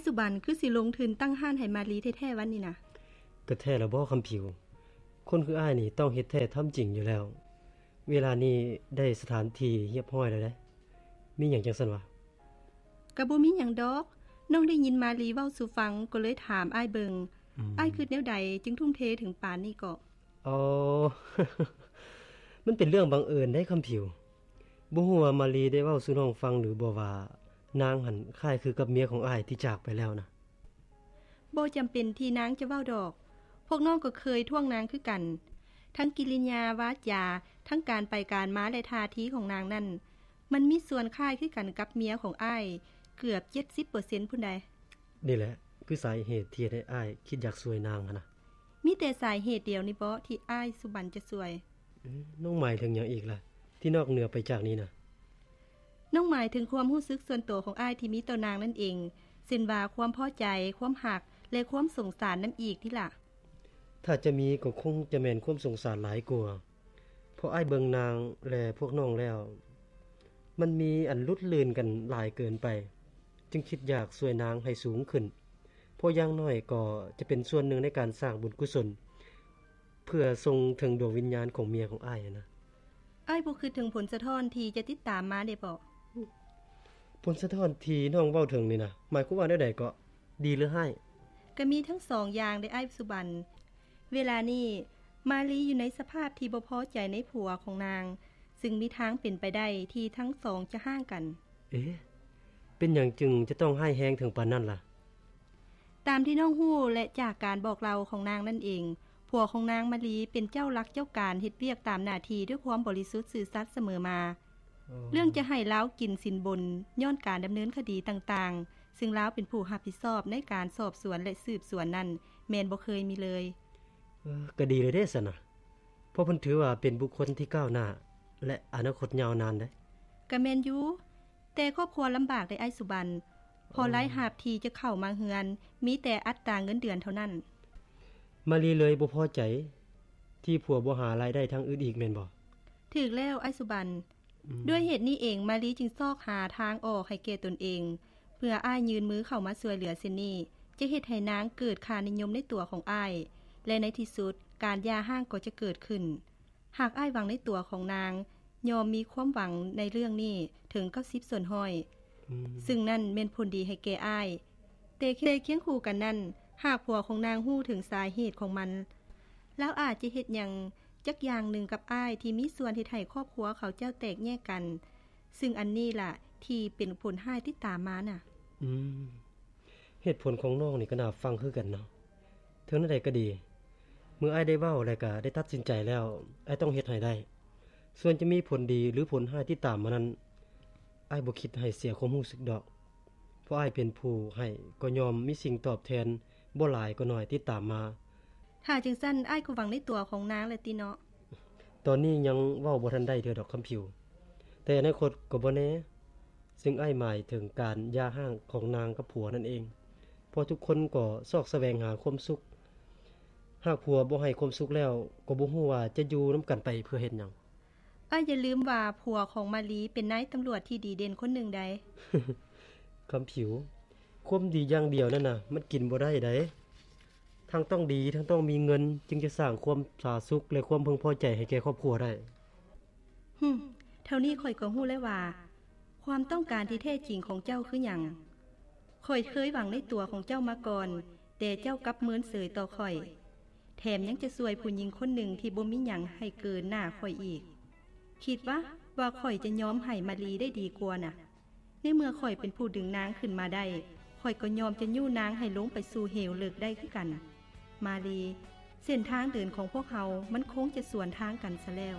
ສຸບັນຄືຊິລົງທຶນຕັ້ງຮ້ານໃຫ້ມາລີແທ້ໆວັນນີ້ນະ? ກໍແທ້ລະບໍ່ຄຳຜິວ? ຄົນຄືອ້າຍນີ້ຕ້ອງເຮັດແທ້ທຳຈິງຢູ່ແລ້ວ. ເວລານີ້ໄດ້ສະຖານທີ່ຮຽບຮ້ອຍແລ້ວເດ້. ມີຫຍັງຈັ່ງຊັ້ນວະ? ກໍບໍ່ມີຫຍັງດອກ. ນ້ອງໄດ້ຍິນມາລີເວົ້າສູ່ຟັງ ກໍເລີຍຖາມອ້າຍເບິ່ງ. ອືມ. ອ້າຍຄິດແນວໃດຈຶ່ງທຸ່ມເທເຖິງປານນີ້ເກາະ? ອໍ ມັນເປັນເລື່ອງບັງເອີນເດ້ຄຳຜິວ. ບໍ່ຮູ້ວ່າມາລີໄດ້ເວົ້າສູ່ນ້ອງຟັງຫຼືບໍ່ວ່າ ນາງຫັ້ນຄ້າຍຄືກັບເມຍຂອງອ້າຍທີ່ຈາກໄປແລ້ວນະ? ບໍ່ຈຳເປັນທີ່ນາງຈະເວົ້າດອກ. ພວກນ້ອງກໍເຄີຍທ້ວງນາງຄືກັນ. ທັງກິລິຍາວາຈາ, ທັງການໄປການມາ ແລະ ທ່າທີຂອງນາງນັ້ນ, ມັນມີສ່ວນຄ້າຍຄືກັນກັບເມຍຂອງອ້າຍເກືອບເຈັດສິບເປີເຊັນພຸ້ນໃດ໋. ນີ້ແຫຼະຄືສາເຫດທີ່ເຮັດໃຫ້ອ້າຍຄິດຢາກຊ່ວຍນາງຫັ້ນນະ. ມີແຕ່ສາເຫດດຽວນີ້ເບາະທີ່ອ້າຍສຸບັນຈະຊ່ວຍ? ເອີ ນ້ອງໝາຍເຖິງຫຍັງອີກລະ ທີ່ນອກເໜືອໄປຈາກນີ້ນະ? ນ້ອງໝາຍເຖິງຄວາມຮູ້ສຶກສ່ວນໂຕຂອງອ້າຍທີ່ມີຕໍ່ນາງນັ້ນເອງ, ເຊັ່ນວ່າຄວາມພໍໃຈ, ຄວາມຮັກ ແລະ ຄວາມສົງສານນຳອີກຕິລະ? ຖ້າຈະມີກໍຄົງຈະແມ່ນຄວາມສົງສານຫຼາຍກວ່າ, ເພາະອ້າຍເບິ່ງນາງ ແລະ ພວກນ້ອງແລ້ວ ມັນມີອັນຫຼຸດລື່ນກັນຫຼາຍເກີນໄປ, ຈຶ່ງຄິດຢາກຊ່ວຍນາງໃຫ້ສູງຂຶ້ນ, ເພາະຢ່າງໜ້ອຍກໍຈະເປັນສ່ວນໜຶ່ງໃນການສ້າງບຸນກຸສົນ ເພື່ອສົ່ງເຖິງດວງວິນຍານຂອງເມຍຂອງອ້າຍຫັ້ນນະ. ອ້າຍບໍ່ຄິດເຖິງຜົນສະທ້ອນທີ່ຈະຕິດຕາມມາເດເບາະ? ຜົນສະທ້ອນທີ່ນ້ອງເວົ້າເຖິງນີ້ນະ ໝາຍຄວາມວ່າແນວໃດເກາະ? ດີຫຼືຮ້າຍ? ກະມີທັງສອງຢ່າງເດອ້າຍສຸບັນ. ເວລານີ້ມາລີຢູ່ໃນສະພາບທີ່ບໍ່ພໍໃຈໃນຜົວຂອງນາງ, ຊຶ່ງມີທາງເປັນໄປໄດ້ທີ່ທັງສອງຈະຮ້າງກັນ. ເອ ເປັນຫຍັງຈຶ່ງຈະຕ້ອງຮ້າຍແຮງເຖິງປານນັ້ນລະ? ຕາມທີ່ນ້ອງຮູ້ ແລະ ຈາກການບອກເລົ່າຂອງນາງນັ້ນເອງ, ຜົວຂອງນາງມາລີເປັນເຈົ້າຫຼັກເຈົ້າການເຮັດວຽກຕາມໜ້າທີ່ດ້ວຍຄວາມບໍລິສຸດຊື່ສັດສະເໝີມາ. ອໍ ເລື່ອງຈະໃຫ້ລາວກິນສິນບົນຍ້ອນການດຳເນີນຄະດີຕ່າງໆ, ຊຶ່ງລາວເປັນຜູ້ຮັບຜິດຊອບໃນການສອບສວນ ແລະ ສືບສວນນັ້ນ ແມ່ນບໍ່ເຄີຍມີເລີຍ. ເອີ ກໍດີແລ້ວເດ້ຊັ້ນນະ, ເພາະເພິ່ນຖືວ່າເປັນບຸກຄົນທີ່ກ້າວໜ້າ ແລະ ອະນາຄົດຍາວນານເດ້. ກໍແມ່ນຢູ່. ແຕ່ຄອບຄົວລຳບາກເດ້ອ້າຍສຸບັນ, ເພາະ ອໍ ລາຍຮັບທີ່ຈະເຂົ້າມາເຮືອນມີແຕ່ອັດຕາເງິນເດືອນເທົ່ານັ້ນ. ມາລີເລີຍບໍ່ພໍໃຈທີ່ຜົວບໍ່ຫາລາຍໄດ້ທາງອື່ນອີກແມ່ນບໍ່? ຖືກແລ້ວອ້າຍສຸບັນ. ອືມ. ດ້ວຍເຫດນີ້ເອງ ມາລີຈຶ່ງຊອກຫາທາງອອກໃຫ້ແກ່ຕົນເອງ, ເພື່ອອ້າຍຍື່ນມືເຂົ້າມາຊ່ວຍເຫຼືອເຊັ່ນນີ້ ຈະເຮັດໃຫ້ນາງເກີດຄ່ານິຍົມໃນຕົວຂອງອ້າຍ ແລະ ໃນທີ່ສຸດການຢ່າຮ້າງກໍຈະເກີດຂຶ້ນ. ຫາກອ້າຍຫວັງໃນຕົວຂອງນາງ, ຍ່ອມມີຄວາມຫວັງໃນເລື່ອງນີ້ເຖິງເກົ້າສິບສ່ວນຮ້ອຍ, ອືມ ຊຶ່ງນັ້ນແມ່ນຜົນດີໃຫ້ແກ່ອ້າຍ. ແຕ່ ແຕ່ຄຽງຄູ່ກັນນັ້ນ, ຫາກຜົວຂອງນາງຮູ້ເຖິງສາເຫດຂອງມັນ, ລາວອາດຈະເຮັດຫຍັງຈັກຢ່າງໜຶ່ງກັບອ້າຍທີ່ມີສ່ວນເຮັດໃຫ້ຄອບຄົວເຂົາເຈົ້າແຕກແຍກກັນ, ຊຶ່ງອັນນີ້ລະທີ່ເປັນຜົນຮ້າຍຕິດຕາມມານະ. ອືມ. ເຫດຜົນຂອງນ້ອງນີ້ກໍໜ້າຟັງຄືກັນເນາະ. ເຖິງແນວໃດກໍດີ, ເມື່ອອ້າຍໄດ້ເວົ້າ ແລະ ກໍໄດ້ຕັດສິນໃຈແລ້ວ, ອ້າຍຕ້ອງເຮັດໃຫ້ໄດ້. ສ່ວນຈະມີຜົນດີ ຫຼື ຜົນຮ້າຍຕິດຕາມມານັ້ນ, ອ້າຍບໍ່ຄິດໃຫ້ເສຍຄວາມຮູ້ສຶກດອກ. ເພາະອ້າຍເປັນຜູ້ໃຫ້, ກໍຍ່ອມມີສິ່ງຕອບແທນ, ບໍ່ຫຼາຍກໍໜ້ອຍ, ຕິດຕາມມາ. ຖ້າຈັ່ງຊັ້ນ, ອ້າຍກໍຫວັງໃນຕົວຂອງນາງແຫຼະຕິເນາະ. ຕອນນີ້ຍັງເວົ້າບໍ່ທັນໄດ້ເທື່ອດອກຄຳຜິວ, ແຕ່ອະນາຄົດກໍບໍ່ແນ່. ຊຶ່ງອ້າຍໝາຍເຖິງການຢ່າຮ້າງຂອງນາງກັບຜົວນັ້ນເອງ, ເພາະທຸກຄົນກໍຊອກສະແຫວງຫາຄວາມສຸກ. ຫາກຜົວບໍ່ໃຫ້ຄວາມສຸກແລ້ວ, ກໍບໍ່ຮູ້ວ່າຈະຢູ່ນຳກັນໄປເພື່ອເຮັດຫຍັງ. ອ້າຍຢ່າລືມວ່າຜົວຂອງມາລີເປັນນາຍຕຳຫຼວດທີ່ດີເດັ່ນຄົນໜຶ່ງໃດ໋. ຄຳຜິວ, ຄວາມດີຢ່າງດຽວນັ້ນນະ ມັນກິນບໍ່ໄດ້ໃດ໋. ທັງຕ້ອງດີ, ທັງຕ້ອງມີເງິນ, ຈຶ່ງຈະສ້າງຄວາມຜາສຸກ ແລະ ຄວາມເພິ່ງພໍໃຈໃຫ້ແກ່ຄອບຄົວໄດ້. ຫຶ, ເທົ່ານີ້ຂ້ອຍກໍຮູ້ແລ້ວວ່າ ຄວາມຕ້ອງການທີ່ແທ້ຈິງຂອງເຈົ້າຄືຫຍັງ. ຂ້ອຍເຄີຍຫວັງໃນຕົວຂອງເຈົ້າມາກ່ອນ, ແຕ່ເຈົ້າກັບເມີນເສີຍຕໍ່ຂ້ອຍ, ແຖມຍັງຈະຊ່ວຍຜູ້ຍິງຄົນໜຶ່ງທີ່ບໍ່ມີຫຍັງໃຫ້ເກີນໜ້າຂ້ອຍອີກ. ຄິດວະ ວ່າຂ້ອຍຈະຍອມໃຫ້ມາລີໄດ້ດີກວ່ານະ? ໃນເມື່ອຂ້ອຍເປັນຜູ້ດຶງນາງຂຶ້ນມາໄດ້, ຂ້ອຍກໍຍອມຈະຍູ້ນາງໃຫ້ລົງໄປສູ່ເຫວເລິກໄດ້ຄືກັນ. ມາລີ, ເສັ້ນທາງເດີນຂອງພວກເຮົາມັນຄົງຈະສວນທາງກັນຊະແລ້ວ.